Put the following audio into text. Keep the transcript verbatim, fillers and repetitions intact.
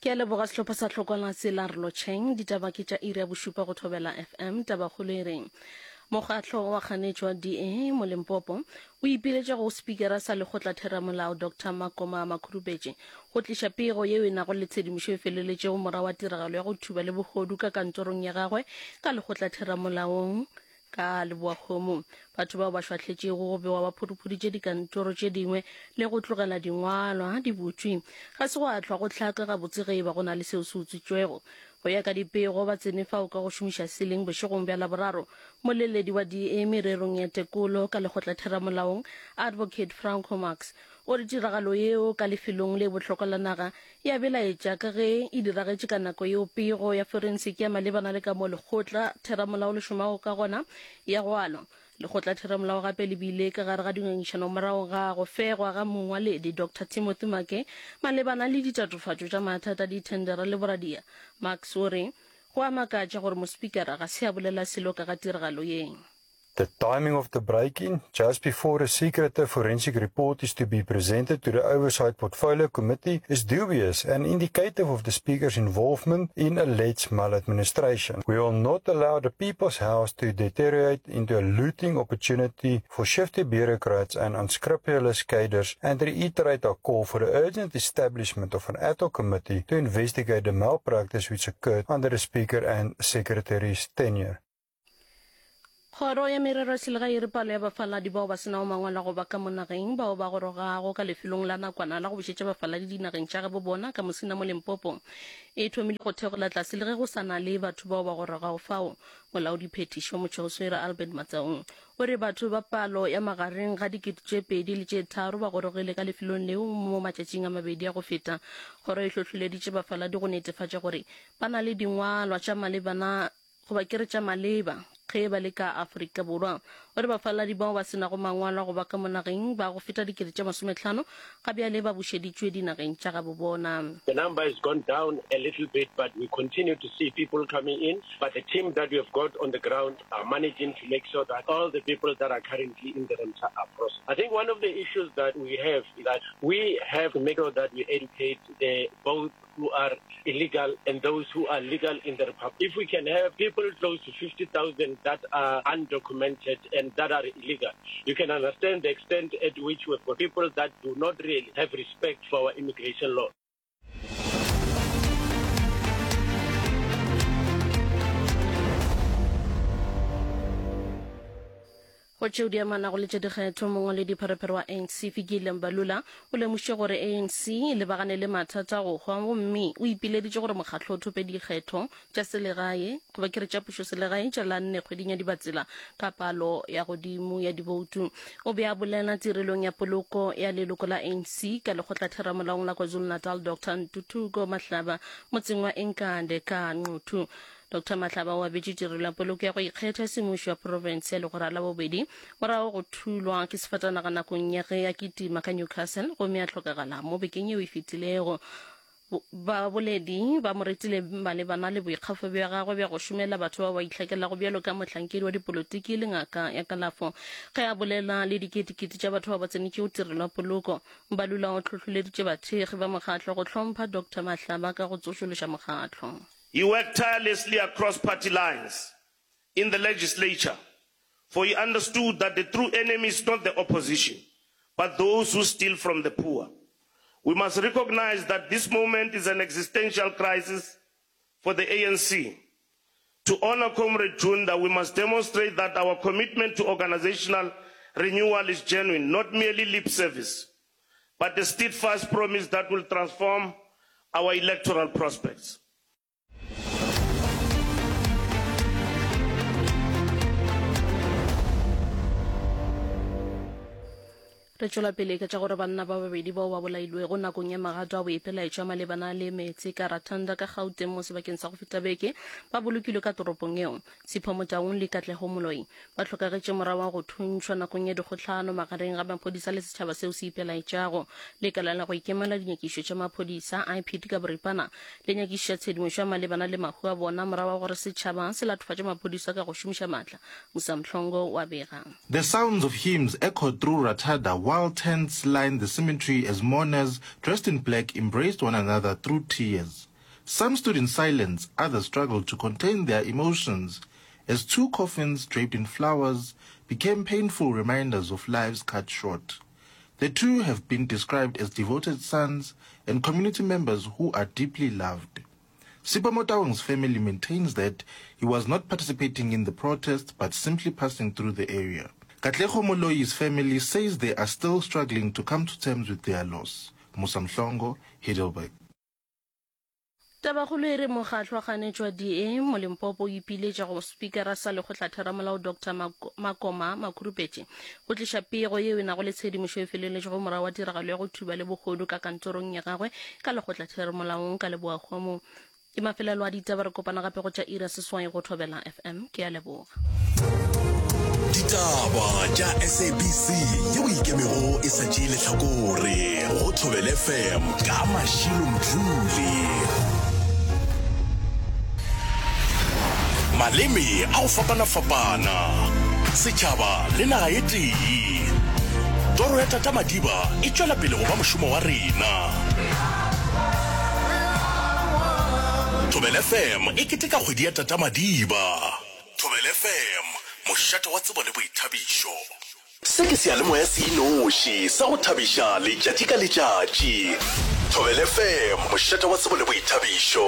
Ke a leboga sehlopha sa Tlhokwana Tsela re lotšheng. Ditaba ke tša iri ya bošupa go Thobela F M. Tabakgolo e reng mokgatlo wa kganetšo wa D A mo Limpopo o ipiletša go spikara sa lekgotlatheramolao Doctor Makoma Makhurupetše go tliša pego yeo e nago le tshedimošo e feleletšego morago wa tiragalo ya go thuba le bohodu ka kantorong ya gagwe ka lekgotlatheramolaong ka Leboakgomo. Batho bao ba šwahletšego go bewa ba phuruphuditše dikantoro tše dingwe le go tlogela dingwalwa di butšwe. Ga se gwa hlwa go hlaka gabotse ge e ba go na le seo se utswitšwego. Go ya ka dipego, ba tsene fao ka go šomiša seling bošegong bja Laboraro. Moleledi wa D A mererong ya tekolo ka lekgotlatheramolaong, Advocate Franco Marx, o re tiragalo yeo ka lefelong le bohlokwa la naga e a belaetša ka ge e diragetše ka nako yeo pego ya forensiki ya malebana le ka moo lekgotla theramolao le šomago ka gona ya go alwa. Lekgotla theramolao gape le bile ka gare ga dingangišano morago ga go fegwa ga mongwaledi Doctor Timothy Make malebana le ditatofatšo tša mathata a dithendera le boradia. Marx o re go a makatša gore mospikara ga se a bolela selo ka ga tiragalo ye. The timing of the break-in, just before a secretive forensic report is to be presented to the Oversight Portfolio Committee, is dubious and indicative of the Speaker's involvement in alleged maladministration. We will not allow the People's House to deteriorate into a looting opportunity for shifty bureaucrats and unscrupulous cadres, and reiterate our call for the urgent establishment of an ad hoc committee to investigate the malpractice which occurred under the Speaker and Secretary's tenure. Kgoro ya Merero ya Selegae e re palo ya bafaladi bao ba se nago mangwalo a go ba ka mo nageng bao ba gorogago ka lefelong la nakwana la go bušetša bafaladi dinageng tša gabo bona ka Musina mo Limpopo e thomile go theogela tlase le ge go sa na le batho bao ba gorogago fao. Molaodiphethiši wa Motšheoswere Albert Matsaung o re batho ba palo ya magareng ga dikete tše pedi le tše tharo ba gorogile ka lefelong leo mo matšatšing a mabedi a go feta. Kgoro e hlohleleditše bafaladi go netefatša gore ba na le dingwalwa tša malebana goba ke re tša maleba ge ba le ka Afrika Borwa. O re bafaladi bao ba se nago mangwalo a go ba ka mo nageng ba go feta dikete tše masomehlano ga bjale ba bušeditšwe dinageng tša gabo bona. The number has gone down a little bit, but we continue to see people coming in. But the team that we have got on the ground are managing to make sure that all the people that are currently in the center are processed. I think one of the issues that we have is that we have to make sure that we educate the both who are illegal and those who are legal in the Republic. If we can have people close to fifty thousand that are undocumented and that are illegal, you can understand the extent at which we've got people that do not really have respect for our immigration law. Go tšeo di amanago le tša dikgetho, mongwaledipherefere wa A N C Fikile Mbalula o lemošitše gore A N C e lebagane le mathata a go hwa gomme o ipileditše gore mokgatlo o thope dikgetho tša selegae goba ke re tša pušoselegae tša la nne kgweding ya Dibatsela ka palo ya godimo ya diboutu. O be a bolela tirelong ya poloko ya leloko la A N C ka lekgotlatheramolaong la KwaZulu-Natal Doctor Ntuthuko Mahlaba motseng wa Enkande ka Nquthu. Doctor Mahlaba o abetše tirelo ya poloko ya go ikgetha semmušo ya profense ya legora la bobedi morago go thulwa ke sefatanaga nakong ya ge a kitima ka Newcastle gomme a hlokagala mo bekeng yeo e fetilego. Baboledi ba mo retile malebana le boikgafo bja gagwe bja go šomela batho bao ba itlhakelago bjalo ka mohlankedi wa dipolotiki le ngaka ya kalafo. Ge a bolela le diketekete tša batho bao ba tsenetšego tirelo ya poloko, Mbalula o hlohleleditše bathekgi ba mokgatlo go hlompha Doctor Mahlaba ka go tsošološa mokgatlo. He worked tirelessly across party lines in the legislature, for he understood that the true enemy is not the opposition, but those who steal from the poor. We must recognize that this moment is an existential crisis for the A N C. To honor Comrade Junda, we must demonstrate that our commitment to organizational renewal is genuine, not merely lip service, but a steadfast promise that will transform our electoral prospects. Re tšwela pele ka tša gore banna ba babedi bao ba bolailwego nakong ya magato a boipelaetšo a malebana le meetse ka Rathanda ka Gauteng mo sebakeng sa go feta beke ba bolokilwe ka toropong yeo. Sipho Motaung le Katlego Moloi ba hlokagetše morago ga go thuntšhwa nakong ya dikgohlano magareng ga maphodisa le setšhaba seo se ipelaetšago. Lekala la go ikemela dinyakišo tša maphodisa, I P D ka boripana, le nyakišiša tshedimošo ya malebana le mahu a bona morago ga gore setšhaba se latofatše maphodisa ka go šomiša maatla. Musa Mhlongo wa bega. The sounds of hymns echoed through Rathada while tents lined the cemetery as mourners dressed in black embraced one another through tears. Some stood in silence, others struggled to contain their emotions as two coffins draped in flowers became painful reminders of lives cut short. The two have been described as devoted sons and community members who are deeply loved. Sipho Motaung's family maintains that he was not participating in the protest but simply passing through the area. Katlego Moloi's family says they are still struggling to come to terms with their loss. Musa Mhlongo, Heidelberg. Tabakgolo e re mokgatlo wa kganetšo wa D A mo Limpopo o ipiletša go Spikara sa Lekgotlatheramolao Doctor Makoma Makhurupetše go tliša pego yeo e nago le tshedimošo e feleletšego morago wa tiragalo ya go thuba le bohodu ka kantorong ya gagwe ka Lekgotlatheramolaong ka Leboakgomo. Ke mafelelo a ditaba, re kopana gape go tša iri ya seswai go Thobela F M. Ke a leboga. Ditaba tša S A B C yeo ikemego e sa tšee lehlakore go Thobela F M ka Mashilo Mdluli. Maleme a go fapana-fapana, setšhaba le naga e tee. Toro ya Tata Madiba e tšwela pele go ba mošomo wa rena. Thobela F M e keteka kgwedi ya Tata Madiba. Thobela F M, mošate wa tsebo le boithabišo. Se ke seyalemoya se inoši sa go thabiša letšatši ka letšatši. Thobela F M, mošate wa tsebo le boithabišo.